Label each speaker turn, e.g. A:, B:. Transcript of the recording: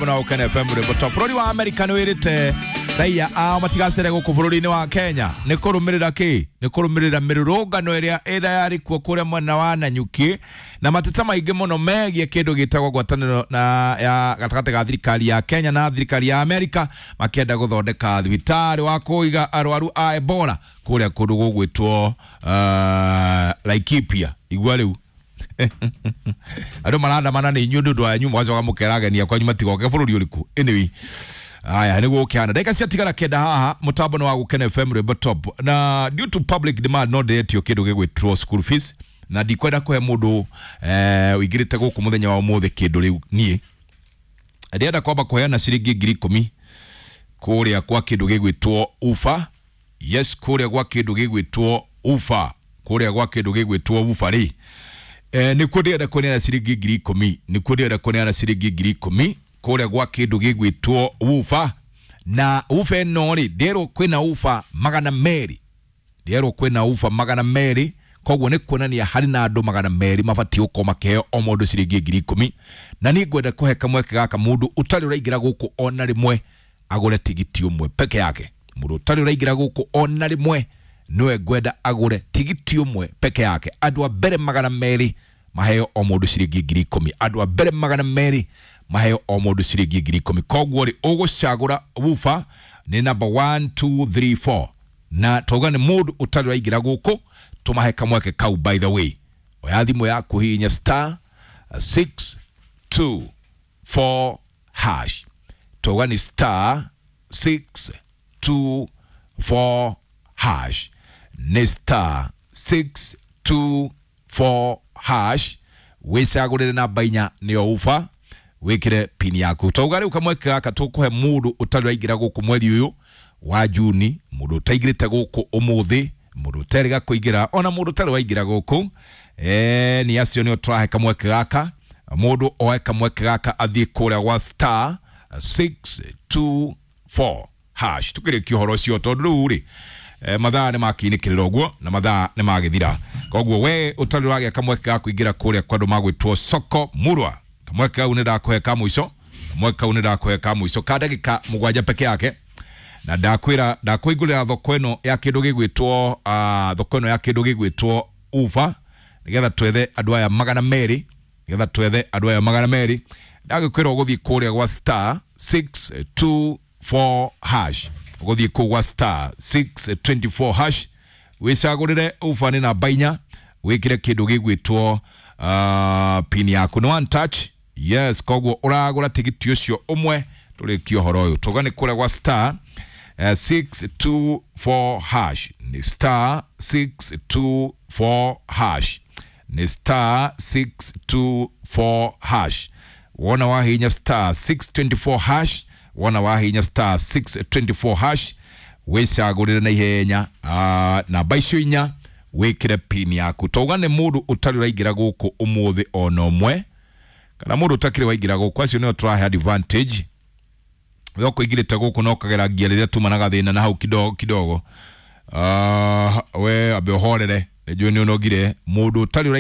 A: Mutambo na Ukene FM rwimbo top. Bũrũri wa America nĩ wĩrĩte raia ao matigacere gũkũ bũrũri-inĩ wa Kenya nĩ kũrũmĩrĩra kĩ? Nĩ kũrũmĩrĩra mĩrũrũngano ĩrĩa ĩrĩa yarĩ kuo kũrĩa mwena wa Nanyuki na mateta maingĩ mũno megiĩ kĩndũ gĩtagwo ngwatanĩro na ya gatagatĩ ga thirikari ya Kenya na thirikari ya Amerika makĩenda gũthondeka thibitarĩ wa kũiga arwaru a Ebola kũrĩa kũndũ gũgwĩtwo Laikipia. Igua rĩu andå marandamana nä inyuä ndå wanyu mwacoka må keragenia kwanyu matigoke bå rå ri å rä kå. Anyway, aya nä gå kä hana ndagä ciatigara 9 haha mutambo nä wa gå kena FM rwimbo top. Na due to public demand no ndäretio kä ndå gä gwä school fees na ndikwenda kå he må ndå wĩingä rä te gå kå må thenya wa å må thä kä ndå rä u niä ndĩrenda kwamba kũheana ciringi 10,000 kũrĩa kwa kĩndũ gĩgwĩtwo ufa. Yes, kũrĩa gwa kĩndũ gĩgwĩtwo ufa, kũrĩa gwa kĩndũ gĩgwĩtwo ufa rĩ, nĩkuo ndĩrenda kũneana ciringi 10,000, nĩkuo ndĩrenda kũneana ciringi 10,000 kũrĩa gwa kĩndũ gĩgwĩtwo ufa. Na ufa ĩno rĩ, ndĩrwo kwĩna ufa 200, ndĩrwo kwĩna ufa 200, koguo nĩ kuonania harĩ na andũ 200 mabatiĩ gũkorwo makĩheo o mũndũ ciringi 10,000. Na niĩ ngwenda kũhe kamweke gaka mũndũ ũtarĩ ũraingĩra gũkũ ona rĩmwe agũre tigiti ũmwe peke yake. Mũndũ ũtarĩ ũraingĩra gũkũ ona rĩmwe niwe ngwenda agũre tigiti ũmwe peke yake. Andũ a mbere 200 maheo o mũndũ ciringi 10,000, andũ a mbere 200 maheo o mũndũ ciringi 10,000. Koguo rĩ, ũgũcagũra wufa nĩ namba 1 2 3 4 na twauga nĩ mũndũ ũtarĩ ũraingĩra gũkũ tumahe kamweke kau. By the way, oya thimũ yaku hihinya star 6 2 4 hash, twauga ni star 6 2 4 hash, nĩ star 6 2 4 hash, wĩcagũrĩre namba 4 nĩyo ufa, wĩkĩre pini yaku. Twauga rĩu kamweke gaka tũkũhe mũndũ ũtarĩ ũraingĩra gũkũ mweri ũyũ wa Juni, mũndũ ũtaingĩrĩte gũkũ ũmũthĩ, mũndũ ũterĩga kũingĩra, ona mũndũ ũtarĩ waingĩra gũkũ, nĩ acio nĩo tũrahe kamweke gaka. Mũndũ oe kamweke gaka athiĩ kũrĩa gwa star 6 2 4 hash. Tukĩrĩkia ũhoro ũcio tondũ rĩu rĩ, mathaa nĩ makiinĩkĩrĩra ũguo na mathaa nĩ magĩthira. Koguo we ũtarĩ ũragĩa kamweke ga kũingĩra kũrĩa kwa andũ magwĩtwo soko murwa, kamweke kau nĩ ndakũhe ka mũico, kamweke kau nĩ ndakũhe ka mũico ka ndagĩka 7 peke yake. Na ndakwĩra ndakũingũrĩra thoko ĩno ya kĩndũ gĩgwĩtwo thoko ĩno ya kĩndũ gĩgwĩtwo ufa nĩgetha twethe andũ aya 200, nĩgetha twethe andũ aya 200. Ndagĩkwĩra ũgũthiĩ kũrĩa gwa star 6 2 4 hash, ũgũthiĩ kũu gwa star 6 24 hash, wĩcagũrĩre ufa nĩ namba 4, wĩkĩre kĩndũ gĩgwĩtwo pin yaku nĩ one touch. Yes, koguo ũragũra tigiti ũcio ũmwe tũrĩkie ũhoro ũyũ. Tũga nĩ kũrĩa gwa star 6 2 4 hash, ni star 6 2 4 hash, ni star 6 2 4 hash. Wona wahinya star 624 hash, wona wahinya star 624 hash, wĩcagũrĩre na ihenya namba icio 4, wĩkĩre pin yaku. Tauga nĩ mũndũ ũtarĩ ũraingĩra gũkũ ũmũthĩ ona ũmwe kana mũndũ ũtakĩrĩ waingĩra gũkũ, acio nĩo tũrahe advantage. We ũkũingĩrĩte gũkũ no ũkagera ngia rĩrĩa tumanaga thĩna na hau kidogo kidogo. We ambe ũhorere, nĩnjũĩ nĩ ũnogire. Mũndũ ũtarĩ